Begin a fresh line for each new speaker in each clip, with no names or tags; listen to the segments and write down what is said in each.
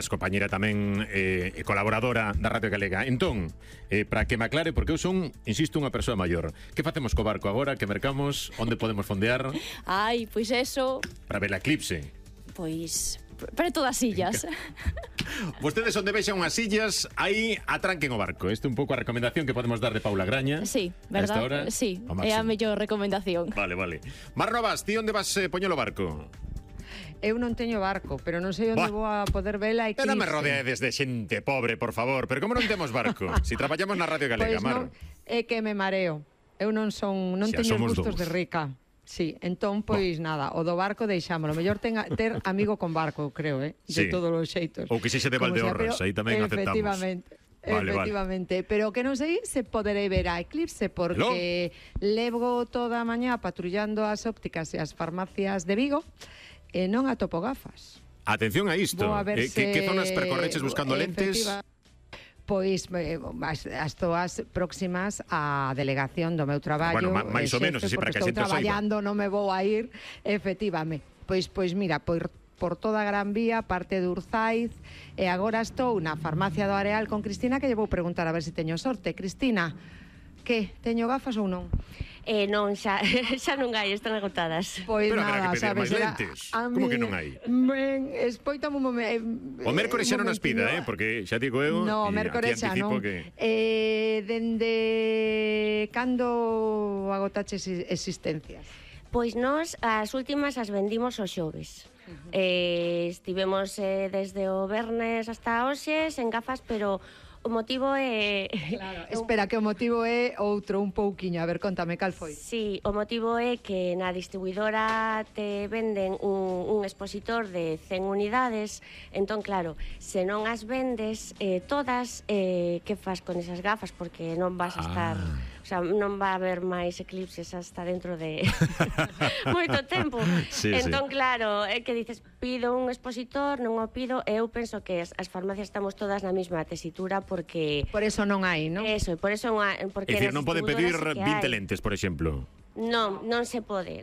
compañera tamén colaboradora da Radio Galega. Entón, para que me aclare, porque eu son, insisto, unha persoa maior. Que facemos co barco agora? Que mercamos? Onde podemos fondear?
Ai, pois eso...
Para ver a eclipse.
Pois... preto das illas.
Vostedes onde vexan unhas illas, aí atranquen o barco. Este é un pouco a recomendación que podemos dar de Paula Graña.
Sí, verdad?
Hora,
sí, é a mellor recomendación.
Vale. Mar Novas, ti onde vas poñer o barco?
Eu non teño barco, pero non sei onde vou a poder vela eclipse.
Non me rodeades de xente pobre, por favor. Pero como non temos barco? Si traballamos na Radio Galega,
Pois
Mar.
É que me mareo. Eu non teño gustos de rica. Sí, entón, pois nada, o do barco deixámoslo. Mellor ter amigo con barco, creo, de todos os xeitos.
Ou que sexe de Valdeorras, aí tamén aceptamos.
Efectivamente, pero que non sei se poderei ver a eclipse porque levo toda a mañá patrullando as ópticas e as farmacias de Vigo e non atopo gafas.
Atención a isto. Que zonas percorreches buscando lentes?
Pois as zoas próximas á delegación do meu traballo.
Bueno, máis ou menos, así para que a xente
estou traballando, non me vou a ir, efectivamente. Pois mira, por toda a Gran Vía, parte de Urzaiz, e agora estou na farmacia do Areal con Cristina, que lle vou preguntar a ver se teño sorte. Cristina, que? Teño gafas ou non?
Non, xa non hai, están agotadas.
Pois
pero
nada,
haberá que pedir
sabes,
máis lentes. Como que non hai?
Espoitame un momento.
O mércores xa non as pida, porque xa digo eu,
no, mércores xa non. Dende cando agotaches existencias?
Pois nós as últimas as vendimos os xoves. Estivemos desde o vernes hasta hoxe en gafas, pero o motivo é...
Claro, espera, que o motivo é outro un pouquiño. A ver, contame, cal foi?
Sí, o motivo é que na distribuidora te venden un expositor de 100 unidades. Entón, claro, se non as vendes todas, que fas con esas gafas? Porque non vas a estar... O sea, non va a haber máis eclipses hasta dentro de moito tempo. Entón, claro, é que dices, pido un expositor, non o pido, e eu penso que as farmacias estamos todas na mesma tesitura porque...
Por eso non hai, non?
Eso, por eso porque...
É dicir, non pode pedir 20 lentes, por exemplo.
Non se pode.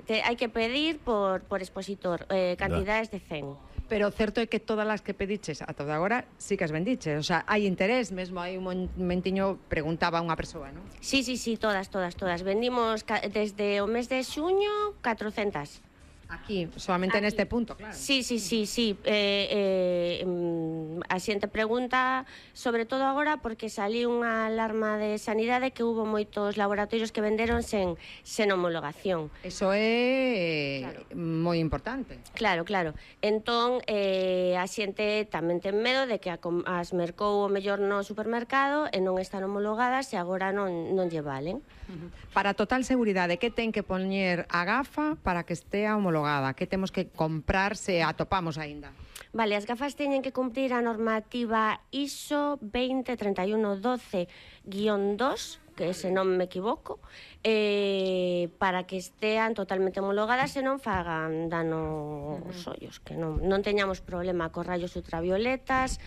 Hai que pedir por expositor, cantidades de 100.
Pero o certo é que todas as que pediches ata agora sí que as vendiches. O sea, hai interés, mesmo hai un momentiño preguntaba unha persoa, non?
Sí, todas. Vendimos desde o mes de xuño 400.
Aquí, solamente aquí. Neste punto, claro.
Sí. A xente pregunta, sobre todo agora, porque saliu unha alarma de sanidade que hubo moitos laboratorios que venderon sen homologación.
Eso é moi importante.
Claro. Entón, a xente tamén ten medo de que as mercou o mellor no supermercado e non están homologadas e agora non lle valen.
Para total seguridade, que ten que poñer a gafa para que estea homologada? Que temos que comprar se atopamos aínda?
Vale, as gafas teñen que cumprir a normativa ISO 203112-2, que se non me equivoco, para que estean totalmente homologadas e non fagan dano aos ollos, que non teñamos problema cos rayos ultravioletas,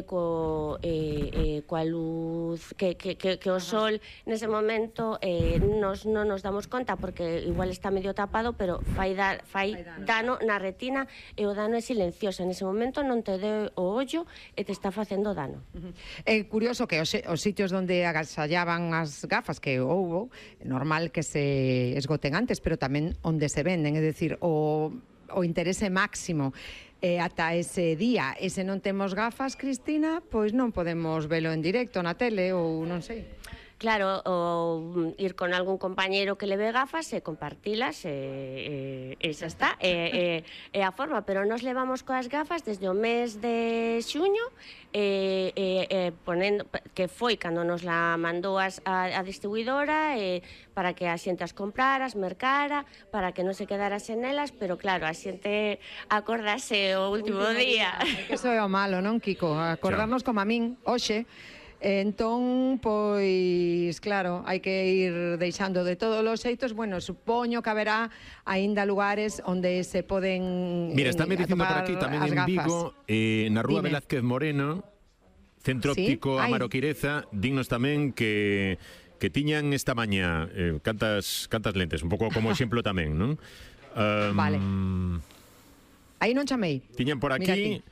coa luz que o sol nese momento non nos damos conta porque igual está medio tapado, pero fai dano na retina e o dano é silencioso. Nese momento non te dé o ollo e te está facendo dano.
É curioso que os sitios onde agasallaban as gafas que houbo, normal que se esgoten antes, pero tamén onde se venden, é dicir, o interese máximo ata ese día. E se non temos gafas, Cristina, pois non podemos velo en directo na tele ou non sei.
Claro, o ir con algún compañero que leve gafas e compartilas e xa está, é a forma, pero nos levamos coas gafas desde o mes de xuño ponendo, que foi cando nos la mandou a distribuidora para que a xente as comprara, as mercara, para que non se quedara sen elas, pero claro, a xente acordase o último día.
Que iso é o malo, non, Kiko? Acordarnos como a min, hoxe. Entón, pois, claro, hai que ir deixando de todos os xeitos. Bueno, supoño que haberá aínda lugares onde se poden
Mira, está me dicindo por aquí tamén en Vigo, na Rúa Velázquez Moreno, Centro Óptico Amaro Quireza, dignos tamén que tiñan esta mañá cantas lentes, un pouco como exemplo tamén, non?
Vale. Aí non chamei.
Tiñan por aquí